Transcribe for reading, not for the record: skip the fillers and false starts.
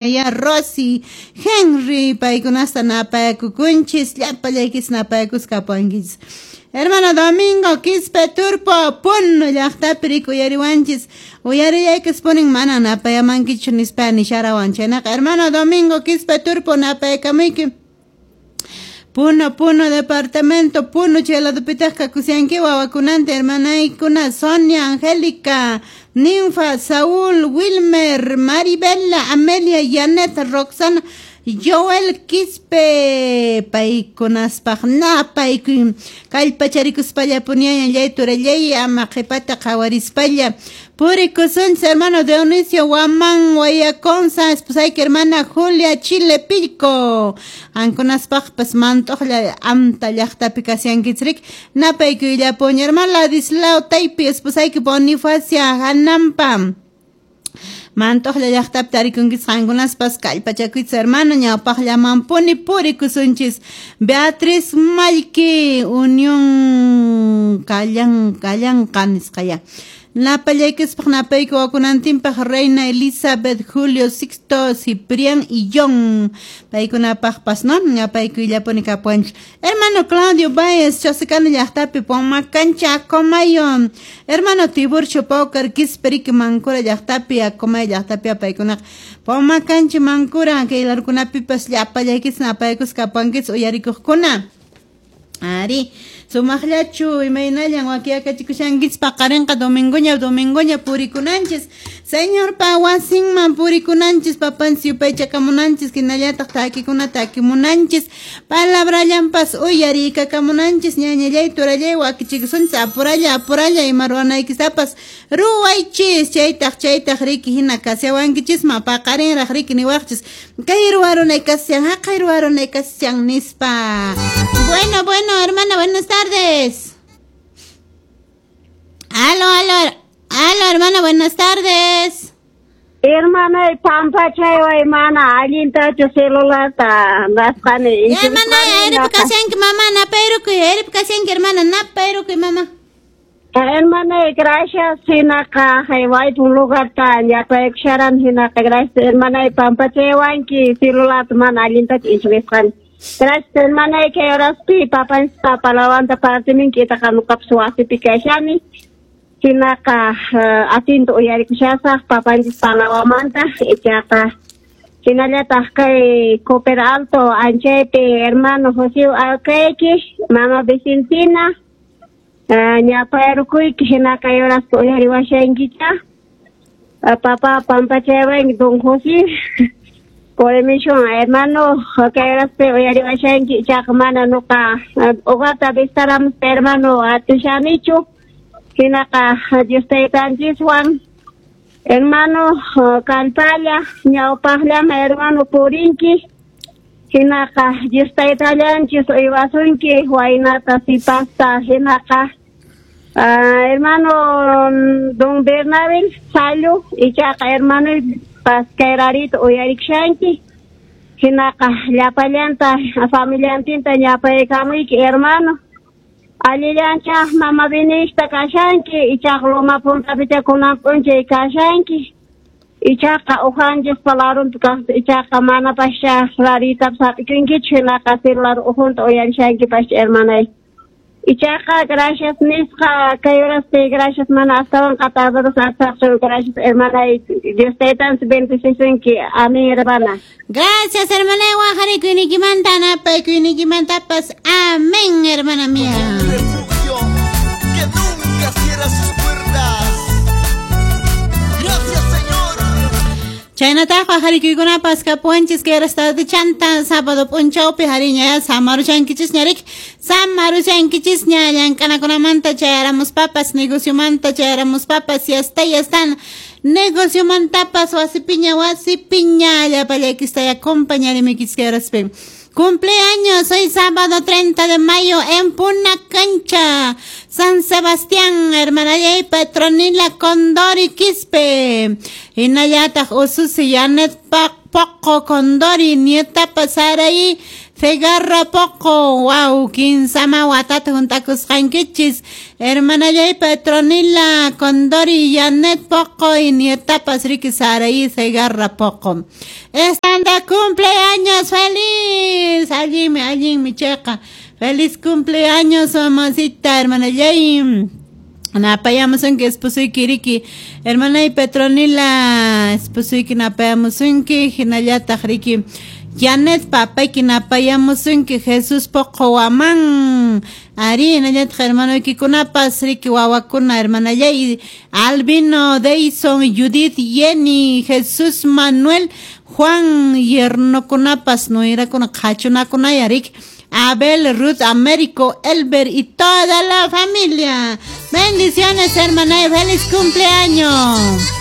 Ya Rosy, Henry, paykunasta napayakukunchis, llapallaykis napayakuskapuwankichis. Hermano Domingo Quispe Turpo, Puno llaqtapi rik uyariwanchis, uyarillaykis punin mana napayamankichu nispa nisharawan chaynaqa. Hermano Domingo Quispe Turpo, napayakamuyki. Puno, Puno departamento, Puno chay ladupitaq kakusyanki wawakunanta hermanaykuna Sonia, Angélica, Ninfa, Saúl, Wilmer, Maribela, Amelia, Janet, Roxana, Joel Quispe, paykunaspaq napaykuy kallpacharikuspalla puniañallay turallay ama qhipata qhawarispalla purikusunchis. Hermano Dionisio Guamán Guayaconza, esposayki hermana Julia Chile Pilco, qankunaspaqpas mant'uqlla amta llaqtapi kasyankichik napaykuyllapuña. Hermano Ladislao Taypi, esposayki Bonifacia Hanampa, Mantoqlla llaqtapi tarikunkichis qankunaspas kallpachakuychis hermano ñawpaqllamanpuni purikusunchis. Beatriz Mallki, Unión Kallan Kallanqa nisqaya. Napallaykispaq napayku wakunantinpaq Reina Elizabeth, Julio, Sixto, Ciprián y John. Paykunapaqpas, no? Napaykuyllapuni kapuwanchis. Hermano Claudio Baez, Chosicana llaqtapi Pomacancha, Acomayo. Hermano Tiburcio Paucar, Quisperiki, Mancura llaqtapi, Acomayo llaqtapi paykunaqa. Pomacancha, Mancura, kay larkunapipas llapallaykis napaykus kapuwankichis uyarikuqkuna. Ari, sumaqllachu imaynallan wakiyakachikushankichis paqarinqa domingoña domingoña purikunanchis. Señorpa wasinman purikunanchis, papanchis yupaychakamunanchis, hinallataq takikuna takimunanchis, palabrallanpas uyarikakamunanchis, ñañallay turallay wakichikusunchis, apuralla apuralla ima ruwanaykistapas ruwaychis, chaytaq chaytaq riki hina kasyawankichisman paqarinraq riki niwaqchis, kay ruwarunay kasyan, haqay ruwarunay kasyan nispa. Bueno, bueno, hermana, buenas tardes. Aló, aló, aló, hermana, buenas tardes. Hermana, pampachay, hermana, allintachu celularta nasqani. Hermana, erip kasyanki mamá, napayrukuy, erip kasyanki hermana, napayrukuy mamá. Hermana, gracias, hinaqa, haywaypun lugarta ñapaykusharan hinaqa, gracias, hermana, pampachaywanki celularta mana allintachu inchwisqani. Gracias, hermana, kay horaspi papanchis palawanta partiminki itaqa nuqapas wasipi kashani. Hinaqa atinta uyarikushasaq papanchis palawamanta ichaqa hinallataq kay Cooper Alto anchaypi hermano José Alcayki, mama Vicentina, ñapayrukuyki hinaqa kay horaspi uyariwashankicha. Papá pampachaywanki don José. Por emisión, hermano, kay horaspi uyariwashanki ichaqa mana nuqa uqata vistaramuspa hermano atishanichu. Hinaqa Dios taytanchiswan hermano kallpalla ñawpaqllama hermano purinki. Hinaqa Dios taytallanchis uywasunki waynata sipasta hinaqa hermano don Bernabel Sallu ichaqa hermano pascayrarita uyarikushanki. Hinaqa llapallanta familiantinta ñapaykamuyki hermano. Allillancha mama vinista kashanki ichaqa loma puntapicha kunan p'unchay kashanki. Ichaqa uqanchis palarunpi kaqta ichaqa mana pascha raritapas hap'ikunkichu hinaqa celular ujunta uyarishankipash hermanay. Ichaqa gracias nisqa kay horaspi gracias mana astawanqa tardarus arsaqchu gracias hermanay. Dios taytanchis bendecisunki. Amén, hermana. Gracias, hermana, wajarikuynikimanta napaykuynikimantapas. Amén, hermana mía. Refugio que nunca cierra sus puertas. Gracias, Señor. Chaynataq wajarikuykunapas kapuwanchis kay chanta sábado p'unchawpi hariña samaruchankichisña riki, samaruchankichisña llank'anakunamanta chayaramuspapas, negociomanta chayaramuspapas, yasta yastan negociomantapas wasipiña wasipiña llapallaykistaya acompañarimuykichis kay horaspi. Cumpleaños hoy sábado 30 de mayo en Punacancha, San Sebastián, hermana Yay Petronila Condori Quispe. Hinallataq ususi Janet Poco Condori, nieta Pasaraí, Zegarra Poqo, wow, kinsama watata hunt'akusqankichis, hermanallay Petronila Condori Janet Poqo y nietapas riki Saraí Zegarra Poqo. Estanda cumpleaños feliz, allinmi, allinmi chayqa. Feliz cumpleaños, mamacita, hermanallay. Napayamusunki esposuyki riki, hermanay Petronila, esposuyki napayamusunki, hinallataq riki. Janet papayki napayamusunki, Jesús Poqo Waman. Ari, hinallataq hermanoykikunapas riki wawakuna, hermanallay Albino, Deison, Judith, Jenny, Jesús Manuel, Juan, yernokunapas, nuerakuna, qhachunakunaya riki. Abel, Ruth, Américo, Elber y toda la familia. Bendiciones, hermana, y feliz cumpleaños.